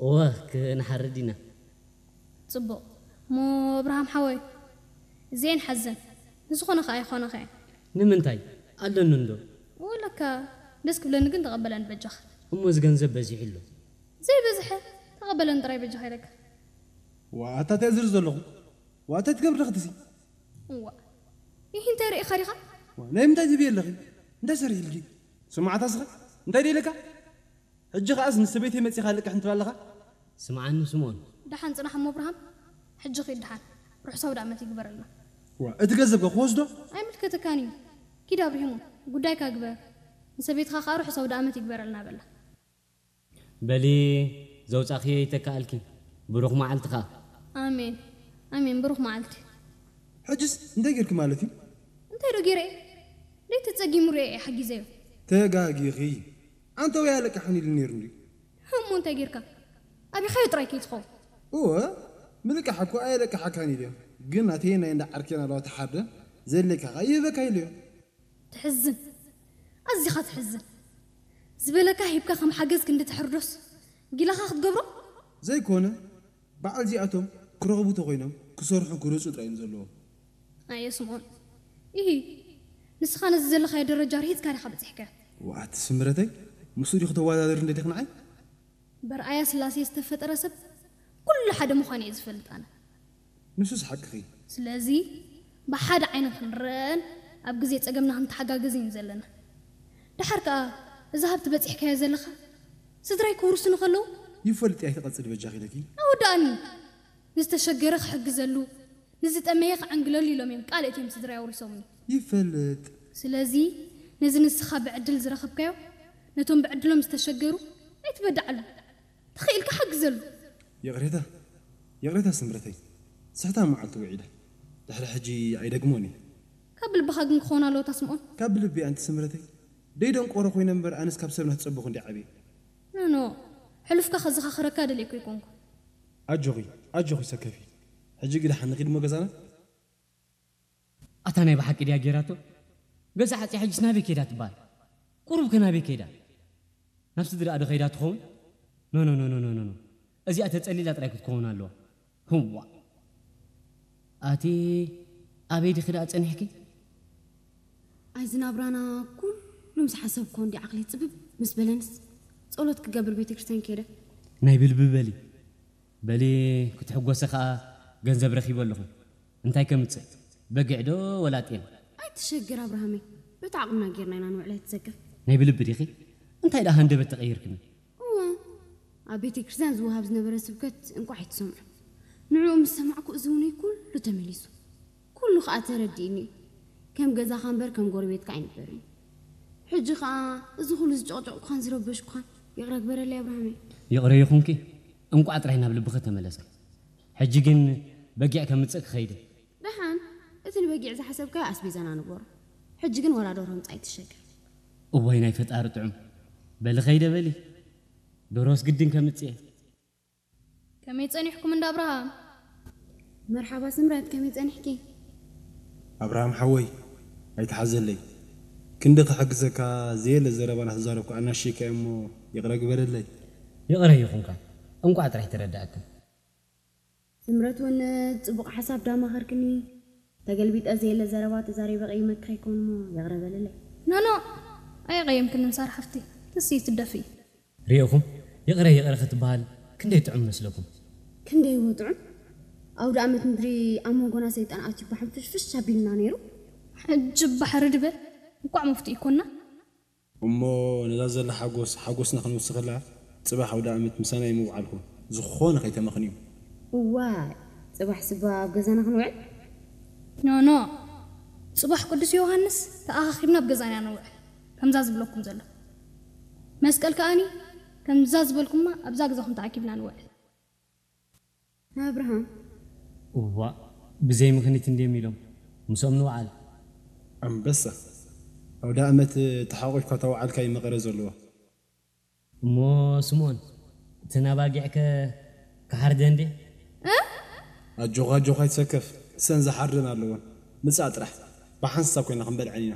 እወ፣ ክንሓርድ ኢና። ጽቡቕ። እሞ ኣብርሃም ሓወይ፣ እዚኤን ሓዘን። ንዝኾነ ከኣ ይኾነኸ እየን። ንምንታይ? ኣለኒ እንዶ። ወለካ ደስ ክብለኒ ግን ተቐበለን በጃኻ። እሞ እዚ ገንዘብ በዚሑ ኣሎ። ዘይበዝሐ ተቐበለን ጥራይ በጃኻ ኢለካ። ዋእ ኣታ እንታይ ዝርኢ ዘለኹ? ዋእ እንታይ ትገብሪ ኣለኺ ትሲ? እዋእ ይህ እንታይ ርኢኻ ዲኻ? ዋእ ናይ ምንታይ ትብዪ ኣለኺ? እንታይ ሰሪሕልኪ? ስምዓታ ስኸ እንታይ ድየ ኢለካ? ሕጂ ኸኣስ ምስ ሰበይተይ መጺኻ ልቅሕ እንትብል ኣለኻ? ስምዓኒ ስምኦን። ደሓን ጽናሕ እሞ ኣብርሃም፣ ሕጂ ኺድ ደሓን። ርሑስ ኣውደኣመት ይግበረልና። ዋእ እቲ ገንዘብ ከ ክወስዶ? ኣይምልከተካን እዩ። ኪድ ኣብርሂሞ፣ ጉዳይካ ግበር። ንሰበይትኻ ኸኣ ርሑስ ኣውደኣመት ይግበረልና በላ። በሊ ዘውጻእክዮ ይተካኣልኪ። ብሩኽ መዓልቲ ከኣ። ኣሜን ኣሜን ብሩኽ መዓልቲ። ሕጅስ እንታይ ጌርኪ ማለት እዩ? እንታይ ዶ ጌረ እየ? ደይ ተጸጊሙ ርእየ እየ ሓጊዘዮ። ተጋጊኺ። ኣንተ ወይ ኣለቅሓን ኢሉ ነይሩ እንድዩ። እሞ እንታይ ጌርካ? ኣቢኻዮ ጥራይ ከይትኸውን። እወ ምልቃሕ እኮ ኣየለቅሓካን ኢለዮ። ግን ናተይ ናይ እንዳ ዓርኬን ኣለዋ ተሓርደ ዘድልየካ ከኣ ይህበካ ኢለዮ። ትሕዝን ኣዚኻ ትሕዝን ዝበለካ ሂብካ ከም ሓገዝ ክንዲ ተሕርዶስ ጊላኻ ክትገብሮ ዘይኮነ በዓል እዚኣቶም ክረኽቡ ተኾይኖም ክሰርሑ ክረጹ ጥራይ እዮም ዘለዎም ኣየ ስምኦን ኢሂ ንስኻ ነዚ ዘለኻዮ ደረጃ ርሂጽካ ዲኻ በጺሕካዮ ዋት ስምረተይ ምስኡ ዲኹ ተወዳደሪ እንደ ዲኽ ንዓይ በርኣያ ስላሴ ዝተፈጠረ ሰብ ኩሉ ሓደ ምዃኑ እየ ዝፈልጥ ኣነ። ንሱስ ሓቅኺ። ስለዚ ብሓደ ዓይኒ ክንረኣን ኣብ ግዜ ጸገምና ክንተሓጋገዝን ዘለና። ደሓር ከኣ እዚ ሃብቲ በጺሕካዮ ዘለኻ ስድራይ ክውርሱኒ ከለዉ። ይፈልጥ እየ ኣይትቐጽሊ በጃኺ ኢለኪ። ኣወድኣኒ። ንዝተሸገረ ክሕግዘሉ ንዝጠመየ ክዕንግለሉ ኢሎም እዮም ቃል እትዮም ስድራይ ኣውሪሶምኒ። ይፈልጥ። ስለዚ ነዚ ንስኻ ብዕድል ዝረኸብካዮ ነቶም ብዕድሎም ዝተሸገሩ ኣይትበድዓሎም። ተኺእልካ ሓግዘሉ። ይቕሬታ ይቕሬታ ስምረተይ። ስሕታ መዓልቲ ውዒለ። ድሕሪ ሕጂ ኣይደግሞን እየ። ካብ ልብኻ ግን ክኾን ኣለዎ እታ ስምኦን። ካብ ልቢ ኣንቲ ስምረተይ። ደይ ደንቆሮ ኮይነ እምበር ኣነስ ካብ ሰብ ናትጸበኹ እንዲ ዓብየ። ኖኖ ሕሉፍካ ከዘኻኽረካ ደልየኩ ኣይኮንኩ። ኣጆኺ ኣጆኺ ሰከፊ። ሕጂ ግዳ ሓንኺ ድሞ ገዛና። ኣታ ናይ ብሓቂ ድያ ጌራቶ? ገዛ ሓጺያ ሕጅስ ናበይ ከይዳ ትበሃል? ቁሩብ ከ ናበይ ከይዳ? ናብ ስድራኣ ዶ ከይዳ ትኸውን? ኖ ኖ ኖ ኖ ኖ ኖ እዚኣ ተጸሊላ ጥራይ ክትከውን ኣለዋ። ህዋ ኣቲ ኣበይ ዲኺ ደኣ ጸኒሕኪ? ኣይ ዝናብራና ኩሉ ምስ ሓሰብኮ እንዲ ዓቕሊ ጽብብ ምስ በለንስ ጸሎት ክገብር ቤተክርስትያን ከይደ። ናይ ብልቢ በሊ በሊ ክትሕጎሲ ኸኣ ገንዘብ ረኺበ ኣለኹ። እንታይ ከምጽእ? በጊዕ ዶ ወላ ጤል? ኣይትሸገር ኣብርሃመይ፣ በቲ ዓቕምና ጌርና ኢና ንውዕል ኣይትሰከፍ። ናይ ብልቢ ዲኺ? እንታይ ደኣ ሃንደበት ተቐይርክኒ? እወ፣ ኣብ ቤተ ክርስቲያን ዝወሃብ ዝነበረ ስብከት እንቋዕ ኣይትሰምዖ። ንዕኡ ምስ ሰማዕኩ እዝውነይ ኩሉ ተመሊሱ። ኩሉ ኸኣ ተረዲእኒ እዩ። ከም ገዛኻ እምበር ከም ጎረቤትካ ኣይንበርን። ሕጂ ኸኣ እዚ ኩሉ ዝጨቕጨቕኩኻን ዝረበሽኩኻን ይቕረ ግበረለይ ኣብርሃመይ። ይቕረ ይኹንኪ፣ እንቋዕ ጥራይ ናብ ልብኺ ተመለሰ። ሕጂ ግን በጊዕ ከምጽእ ክኸይድ እየ። ደሓን፣ እቲ ንበጊዕ ዝሓሰብካዮ ኣስቤዛና ንግበሮ። ሕጂ ግን ወላ ደርሆ ምጻእ ኣይትሸገር። እዋይ ናይ ፈጣሪ ጥዑም። በሊ ኸይደ በሊ። ደርሆስ ግድን ከምጽእ እየ። ከመይ ጸኒሕኩም እንዳ ኣብርሃም? መርሓባ ስምረት፣ ከመይ ጸኒሕኪ? ኣብርሃም ሓወይ ኣይትሓዘለይ። ክንዲ ክሕግዘካ ዘየለ ዘረባ ናተዛረብኩ ኣናሺካ እሞ ይቕረ ግበረለይ። ይቕረ ይኹንካ። እንቋዕ ጥራሕ ተረዳእክን። ስምረት እውን ጽቡቕ ሓሳብ ዳማኸርክኒ። ተገልቢጠ ዘየለ ዘረባ ተዛሪበ ቀይመኪ ከይኮን እሞ ይቕረ በልለይ። ኖኖ ኣየቐየምክንን ሳራ ሓፍቲ። ትሲ ትደፊ። ሪእኹም ይቕረ ይቕረ ክትበሃል ክንደይ ጥዑም መስለኩም። ክንደይ እዎ ጥዑም። ኣውደ ኣመት ምድሪ ኣብ መንጎና ሰይጣን ኣትዩ ባሕንፍሽፍሽ ኣቢልና ነይሩ። ሕጂ ባሕሪ ድበል እንቋዕ መፍትኡ ይኮንና። እሞ ነዛ ዘላ ሓጎስ ሓጎስና ክንውስኸላ ጽባሕ ኣውደኣመት ምሳና እዩ ምውዓልኩም። ዝኾነ ከይተመኽንዩ። እዋይ ጽባሕ ስባ ኣብ ገዛና ክንውዕል? ኖ ኖ ጽባሕ ቅዱስ ዮሃንስ ተኣኻኺብና ኣብ ገዛና ኢና ንውዕል። ከምዛ ዝብለኩም ዘሎ መስቀል ከኣኒ ከምዛ ዝበልኩማ ኣብዛ ገዛኹም ተኣኪብና ንውዕል። ኣብርሃም። እዋእ ብዘይ ምኽኒት እንድዮም ኢሎም ምስኦም ንውዓል። ኣንበሳ ኣውደ ኣመት ተሓቂፍካ ተውዓልካ እዩ መቐረ ዘለዎ። እሞ ስምኦን እተን ኣባጊዕከ ክሓርደን ድየ? ኣጆኻ ኣጆኻ ኣይትሰከፍ እሰን ዝሓርደን ኣለወን ምጻእ ጥራሕ ብሓንሳብ ኮይና ክንበልዐን ኢና።